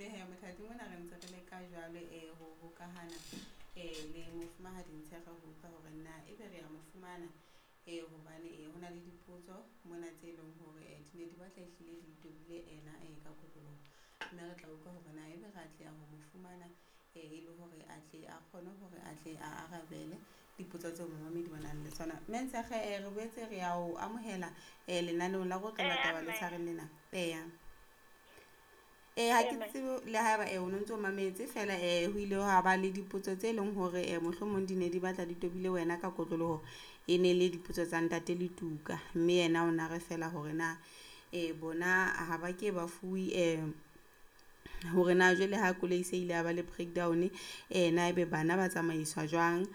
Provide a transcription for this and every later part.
Mme he mothati mona re ntse re leka jwalo ho hokahana le mofumahadi Ntshekge ho utlwa hore na ebe re ya mo fumana hobane ho na le dipotso mona tse leng hore di ne di batla ehlile di tobile ena ka kotloloho. Mme re tla utlwa hore na ebe re atleha ho mo fumana e le hore a tle a kgone hore a tle a arabele dipotso tseo momamedi ba nang le tsona. Mme Ntshekge re boetse re ya o amohela lenaneong la Rotlolla Taba le tshwareng lena. Eya. Ha ke tsebe le haeba o no ntso mametse fela ho ile ha ba le dipotso tse leng hore mohlomong di ne di batla di tobile wena ka kotloloho, e ne le dipotso tsa ntate Letuka. Mme yena o na re fela hore na bona ha ba ke ba fuwe hore na jwale ha koloi se ile ya ba le breakdown na ebe bana ba tsamaiswa jwang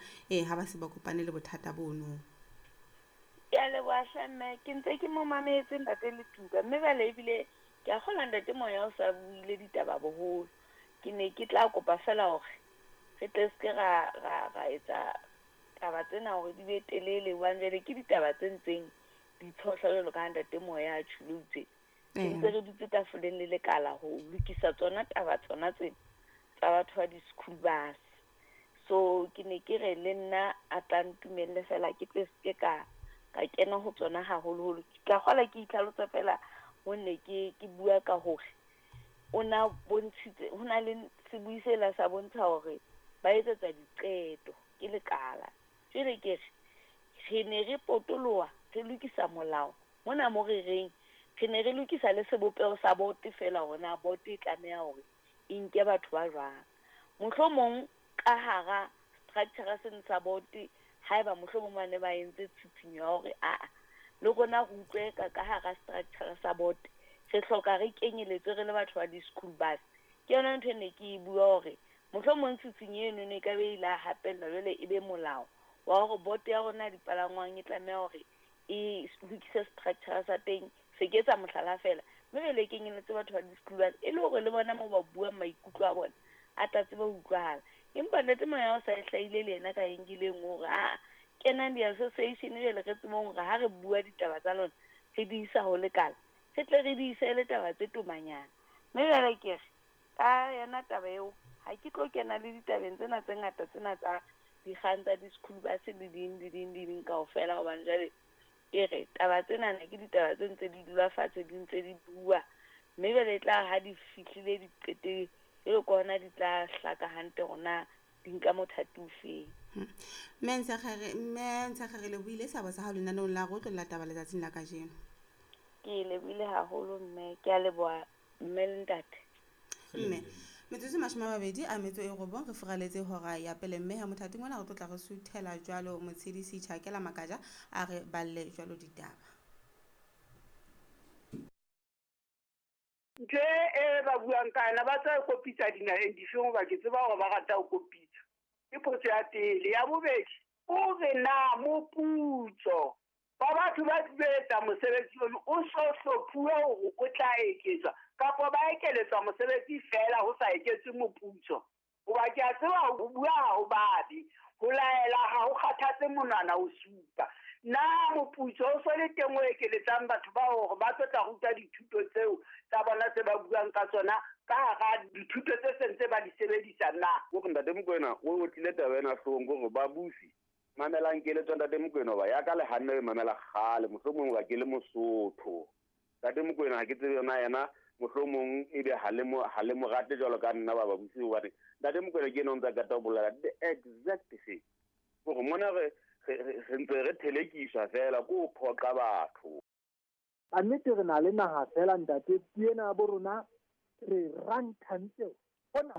ha ba se ba kopane le bothata bono. Ke a leboha hle mme, ke ntse ke mo mametse ntate Letuka, mme jwale ebile ke a kgolwa ntate Moya o sa buile ditaba boholo. Ke ne ke tla kopa fela hore re tle se ke ra ra ra etsa taba tsena hore di be telele, hobane jwale ke ditaba tse ntseng di tshohla jwalo ka ha ntate Moya a tjholo itse. Re ntse re dutse tafoleng le lekala ho lokisa tsona taba tsona tsena tsa batho ba di-school bus. So ke ne ke re le nna a tla ntumelle fela ke tle se ke ka kena ho tsona haholoholo. Ke tla kgola ke itlhalosa fela ho ne ke bua ka hore o na bontshitse ho na le sebui sela sa bontsha hore ba etsetsa diqeto ke lekala. Jwale ke re ne re potoloha re lokisa molao mona mo re reng re ne re lokisa le sebopeho sa bote fela hore na bote e tlameha hore e nke batho ba jwang. Mohlomong ka hara structure seno sa bote, haeba mohlomong ba ne ba entse tshitshinyo ya hore aa le rona re utlwe ka hara structure sa bote, re hloka re kenyeletswe re le batho ba di-school bus. Ke yona ntho e ne ke e bua hore mohlomong tshitshinyo eno e ka be ile ya hapellwa jwale e be molao wa hore bote ya rona ya dipalangwang e tlameha hore e lokise structure sa teng. Se ke etsa mohlala fela, mme jwale e kenyelletse batho ba di-school bus e le hore le bona moo ba buang maikutlo a bona a tla tsebe ho utlwahala. Empa ntate Moya o sa e hlahile le yena ka enkileng hore a kenang di-association jwale re tsebeng hore ha re bua ditaba tsa lona re di isa ho lekala, re tle re di ise le taba tse tomanyana. Mme jwale ke re ka yona taba eo ha ke tlo kena le ditabeng tsena tse ngata tsena tsa dikgang tsa di-school bus le ding le ding le ding kaofela, hobane jwale ke re taba tsena ne ke ditaba tse ntse di dula fatshe di ntse di bua, mme jwale e tla ha di fihlile di qeteng jwale ke hona di tla hlaka hantle hore na di nka mothati o feng. Mme Ntshekge re lebohile seabo sa hao lenaneong la Rotlolla Taba letsatsing la kajeno. Ke lebohile haholo mme, ke a leboha mme le ntate. Mme metsotso 29 re furaletse hora ya pele, mme ha mothati mona re tlo tla re suthela jwalo Motshedisi Tjhakela Makaja a re balle jwalo ditaba. Ntho e ba buang ka yona ba tswa kopitsa dinaheng difeng, hoba ke tseba hore ba rata ho kopitsa. Ke potso ya pele. Ya bobedi, o re na moputso wa batho ba etsa mosebetsi ono o so hlophuwe hore o tla eketswa kapa ba ekeletswa mosebetsi fela ho sa eketswe moputso? Hoba ke a tseba ho bua ha ho babe, ho laela ha ho kgathatse monwana o supa. Na moputso o so le teng o ekeletsang batho ba hore ba tlo tla ruta dithuto tseo tsa bona tse ba buang ka tsona ka hara dithuto tse sentse ba di sebedisa na? Hore ntate Mokoena o otlile taba ena hloohong, hore babusi mamelang keletso ntate Mokoena, hoba ya ka le hanne e mamela kgale, mohlomong hoba ke le Mosotho. Ntate Mokoena ha ke tsebe yona yena, mohlomong ebe ha le mo rate jwalo ka nna ba babusi, hobane ntate Mokoena ke ena o ntsa qeta ho bolela the exact thing. Hore mona re ntse re thelekiswa fela ko ho phoqa batho. Ka nnete re na le naha fela ntate, puo ena ya bo rona re ranthantse hona